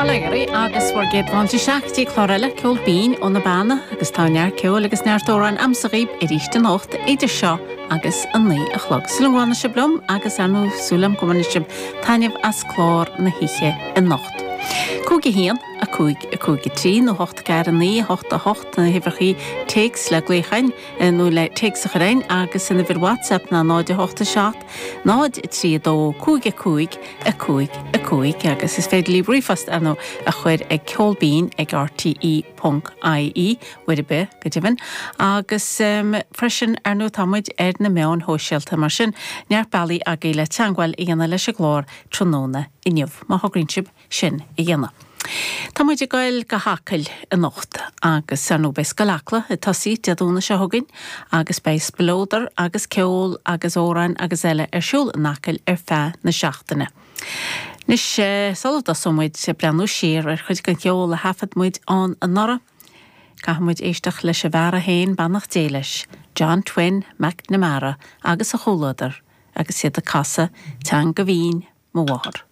Bail ó Dhia oraibh agus bhur gcéad fáilte isteach go dtí clár eile Ceol Binn ó na Beanna agus tá neart ceoil agus neart amhráin a'msa dhaoib arís anocht idir seo agus a 9 a chlog. Súil agam go bhfanfaidh sibh liom agus ar ndóigh súil agam go mbainfidh sibh taitneamh as clár na hoíche anocht. 5 1, 5, 5, 3 nó 8 4 9 8 8 na huimhreachaí téacs le glaoch orainn nó le téacs a chur orainn agus an uimhir WhatsApp ná 0 8 7 0 3 2 5 5 5 5 agus is féidir libh ríomhphost ar ndóigh a chur ag ceolbinn ag rte ponc ie uair ar bith go deimhin agus freisin ar ndóigh tá muid ar na meáin shóisialta mar sin neart bealaí agaibh le teangmháil a dhéanamh leis an gclár tráthnóna inniu má thograíonn sibh sin a dhéanamh. Tá muid ag goil go hAcaill anocht agus ar ndóigh beidh Scoil Acla ag tosaí Dé Domhnaigh seo chugainn agus beidh spleodar agus ceol agus amhráin agus eile ar siúl in Acaill ar feadh na seachtaine. Anois sula dtosóidh muid ag breathnú siar ar chuid den cheol a thaifead muid ann anuraidh, caithfidh muid éisteacht leis an bhfear é féin, beannacht Dé leis, John Twin Mac Namara agus a chomhluadar agus iad ag casadh Teanga Bhinn mo Mháthar.